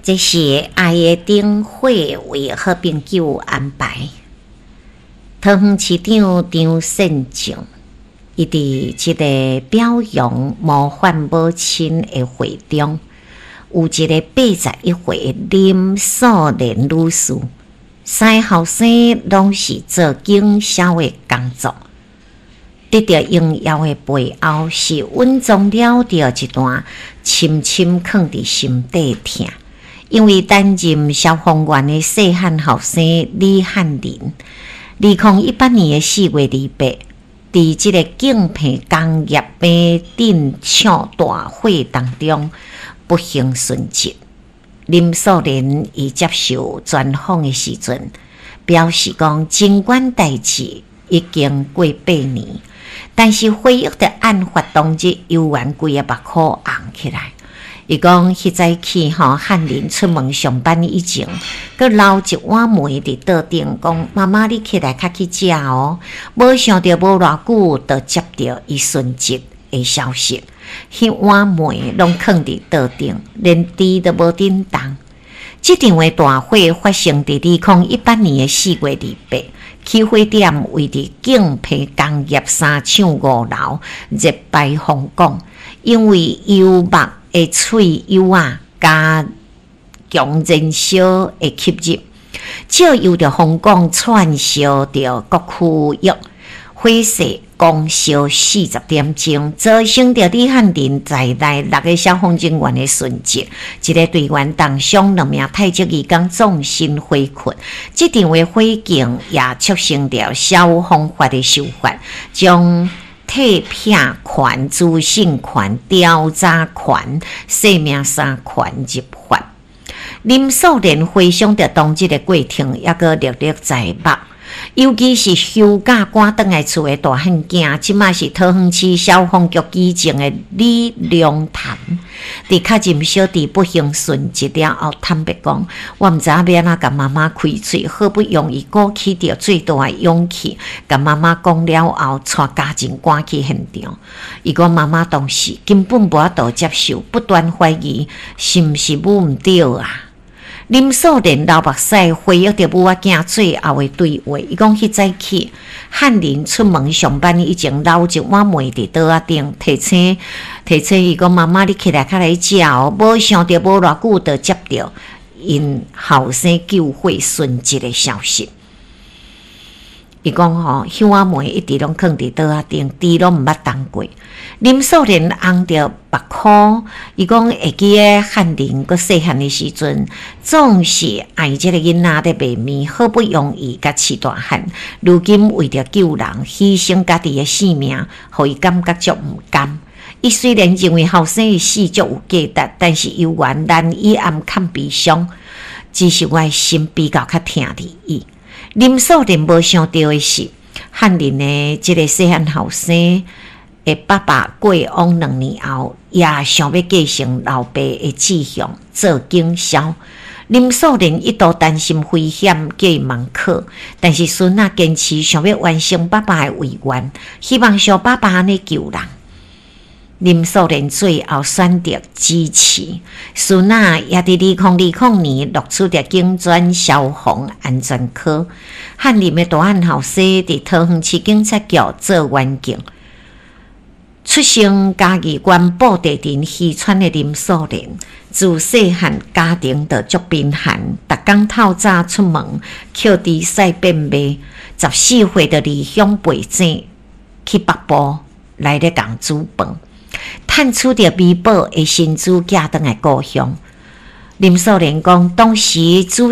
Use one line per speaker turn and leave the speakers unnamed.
這是愛的燈火為好朋友安排。桃園市長張善政，伊佇這个表揚模範母親的會中，有一个81歲林素蓮女士，三个後生攏是做經銷的工作，得著榮耀的背後，是隱藏了著一段深深囥佇心底疼。因為擔任消防員的細漢後生李翰林，2018年的4月28，佇這个景平工業變電廠大火當中不幸殉職。林素蓮伊接受專訪的時陣，表示講，儘管代誌已經過8年，但是回憶著案發當日，猶原規个目箍紅起來。伊講，彼早起吼，翰林出門上班以前，閣留一碗糜佇桌頂，講媽媽你起來較去食哦。無想著無偌久，就接著伊殉職的消息。彼碗糜攏囥佇桌頂，連豬都無振動。這場的大火發生佇2018年的4月28，起火點位佇景平工業三廠5樓熱排風管，因為油墨的喙油仔加強燃燒的吸入，借由著風管竄燒著各區域，火勢狂燒40點鐘，造成著李翰林在內六个消防人員的殉職，一个隊員重傷，兩名泰籍義工葬身火窟。這場的火警也促成著消防法的修法，將退聘權、資訊權、調查權、生命三權入法。林素蓮回想著當日的過程，猶閣歷歷在目。尤其是休假趕轉來厝的大漢囝，這馬是桃園市消防局機證的李良潭，佇確認小弟不幸殉職了後，坦白講，我毋知影欲按怎共媽媽開喙，好不容易鼓起著最大的勇氣，共媽媽講了後，帶家人趕去現場。伊講媽媽當時根本無法度接受，不斷懷疑是毋是母毋對啊。林素蓮流目屎，回憶著母仔囝最後的對話。伊講彼早起，翰林出門上班以前，留一碗糜佇桌仔頂，提醒提醒伊講：媽媽，你起來較來食哦。無想著無偌久，就接著𪜶後生救火殉職的消息。伊講吼，彼碗糜一直攏囥佇桌仔頂，豬攏毋捌動過。林素蓮紅著目箍，伊講會記得翰林閣細漢的時陣，總是愛這个囡仔咧賣麵，好不容易共飼大漢，如今為著救人，犧牲家己的性命，予伊感覺足毋甘。伊雖然認為後生的死足有價值，但是猶原難以掩藏悲傷，只是我的心比較較疼佇伊。林素蓮無想著的是，翰林的這个細漢後生的爸爸過往2年後，也想欲繼承老爸的志向，做警消。林素蓮一度擔心危險，叫伊茫考，但是孫仔堅持想欲完成爸爸的遺願，希望像爸爸按呢救人。林素蓮最後選擇支持孫仔，也佇2020年錄取著警專消防安全科。翰林的大漢後生佇桃園市警察局做員警。出生嘉義縣布袋鎮漁村的林素蓮，自細漢家庭就足貧寒，逐工透早出門，抾豬屎變賣。14歲就離鄉背井去北部來咧共煮飯，趁取著微薄的薪資寄轉來故鄉。林素蓮講，當時主